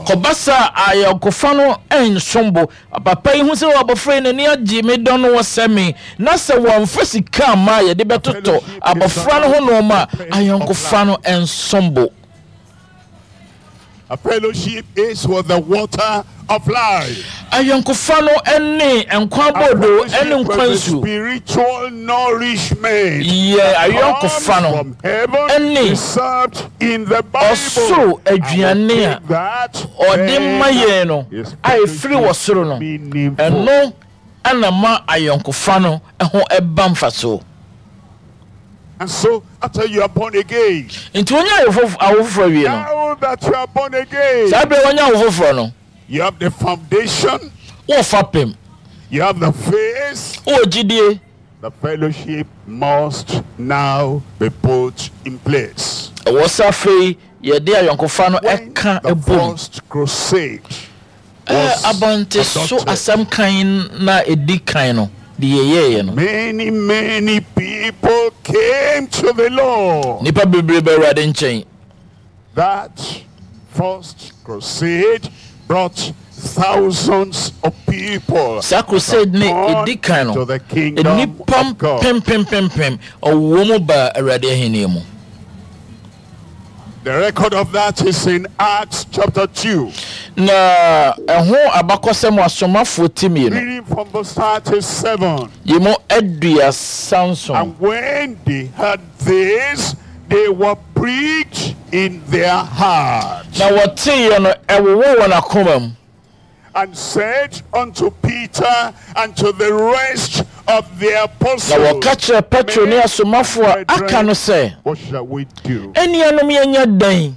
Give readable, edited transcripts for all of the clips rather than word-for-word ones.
Ɛkɔba saa a, ayɔnkofa no nsom bo. Papa yi hu sɛ abɔfra yi n'ani agye, medɔ no, ɔsɛ me, na sɛ wɔamfa sika amma a yɛde bɛtotɔ abɔfra no ho nnoɔma a, ayɔnkofa no nsom bo. A fellowship is with the water of life. Ayɔnkofa no ne nkwa aboodoo ne nkwa nsuo. Spiritual nourishment. Yɛ ayɔnkofa no ne ɔsoro aduane a ɔde ma yɛn no a ɛfiri wɔ soro no, ɛno na ma ayɔnkofa no ho ba mfasoɔ. And so, after you are born again, Nti wonya awo foforɔ awie no, now that you are born again, saa berɛ wonya awo foforɔ no, you have the foundation, wowɔ fapem, you have the faith, wowɔ gyidie. The fellowship must now be put in place. Ɛwɔ sɛ afei yɛde ayɔnkofa no When ka the bom. first crusade was Abɔnte so adopted, asɛm kan no a ɛdi kan no, deɛ yɛyɛeɛ no. Many, many people came to the Lord. Nnipa bebree baa Awurade nkyɛn. That first crusade brought thousands of people Saa crusade no a ɛdi kan no, to the kingdom nnipa of God. mpempempempem wɔ mu baa Awurade ahennie mu. The record of that is in Acts chapter 2. Na ɛho abakɔsɛm wɔ Asomafoɔ ti 2. Reading from verse 37. Yi mu 37. And when they heard this, they were pricked in their hearts. Na wɔteeɛ no, ɛwowɔɔ wɔn akoma mu. And said unto Peter and to the rest of the apostles, Na wɔka kyerɛɛ Petro ne Men, asomafoɔ a aka no sɛ, what shall we do? Anuanom, yɛnyɛ dɛn?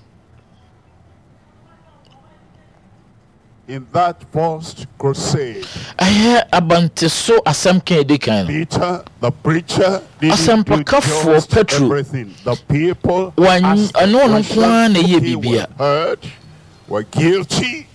In that first crusade, Ɛyɛ abanteso asɛm ka a edi kan no. Peter, the preacher, didn't do Asɛmpakafoɔ just Petro, everything. The people wan- asked ɛno ɔno nko ara na ɛyɛ questions. Okay, biribi a. we're hurt, we're guilty,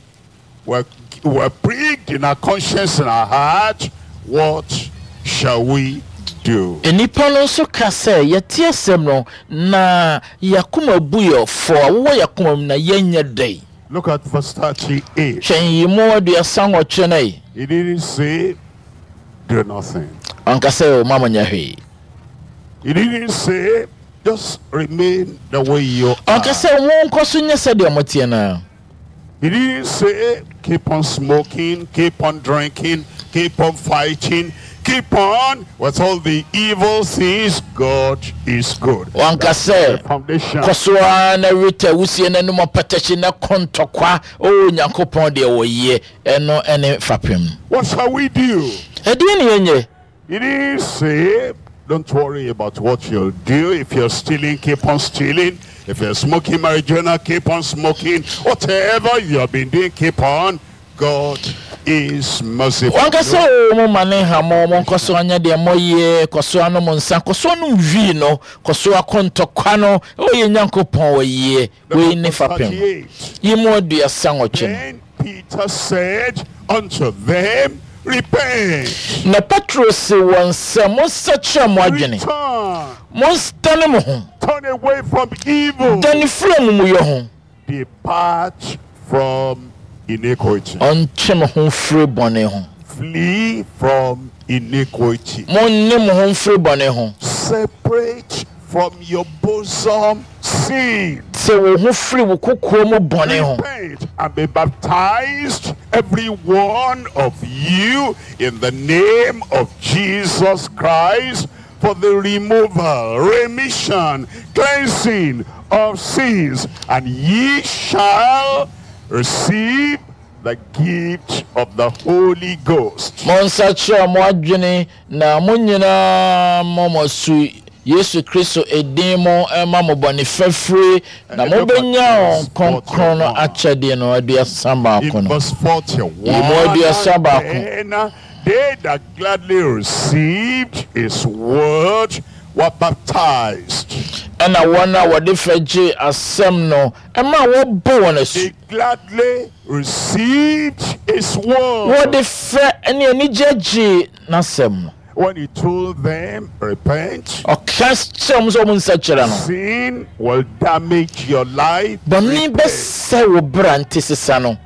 we're pricked in our conscience and our heart. What shall we do? Nnipa no nso ka sɛ, Yɛte asɛm no, na yɛn akoma bu yɛn fɔ, awowɔ yɛn akoma mu, na yɛnyɛ dɛn? Look at verse 38. Hwɛ nyiyimu 38 no ɛ. He didn't say, do nothing. Ɔnka sɛ, mma monyɛ hwee. He didn't say, just remain the way you are. Ɔnka sɛ, monkɔ so nyɛ sɛdeɛ moteɛ no ara. He didn't say, keep on smoking, keep on drinking, keep on fighting, keep on with all the evil things. God is good. Wanka sɛ, kɔ so ara na we wusie na nom apɛtɛkye na kɔ ntɔkwa. O Nyankopɔn deɛ wɔyɛ, ɛno ne fapem. What shall we do? Ɛdeɛn ne yɛnyɛ? He didn't say, don't worry about what you'll do. If you're stealing, keep on stealing. If you're smoking marijuana, keep on smoking. Whatever you have been doing, keep on. God is merciful. Wanka sɛ, o mo ma ne nha mo, monkɔ so anyɛ deɛ moyɛ, kɔ so anom nsa, kɔ so anom wii no, kɔ so akɔ ntɔkwa no, o yɛn Nyankopɔn ɔyɛ. Wei ne fapem. Yi mu 38 no. Then Peter said unto them, Repent. Na Petro see wɔn sɛ, Monsakyera mo adwene, Return. monsdane mo ho. Turn away from evil. Dane firi amumuyɔ ho. Depart from iniquity. Ɔntwe mo ho mfiri bɔne ho. Flee from iniquity. Monne mo ho mfiri bɔne ho. Separate from your bosom sin. Te wo ho firi wo kokoa mu bɔne ho. Repent and be baptized, every one of you, in the name of Jesus Christ, for the removal, remission, cleansing of sins, and ye shall receive the gift of the Holy Ghost. Monsakyera mo adwene na mo nyinaa mmɔ mo asu Yesu Kristo edin mu mma mo bɔne fafiri, na mobɛnya Honhom Kronkron no akyɛdeɛ no 31 In no. verse 41, Yi mu 31. then they that gladly received his word were baptized. Ɛna wɔn a wɔde fɛ gyee asɛm no ma wɔbɔ wɔn asu. They gladly received his word. Wɔde fɛ ne anigye gyee n'asɛm no. When he told them, repent. Ɔka kyerɛɛ wɔn sɛ wɔn nsakyera no. Sin will damage your life. Bɔne Repent. bɛsɛe wo bra nti sesa no.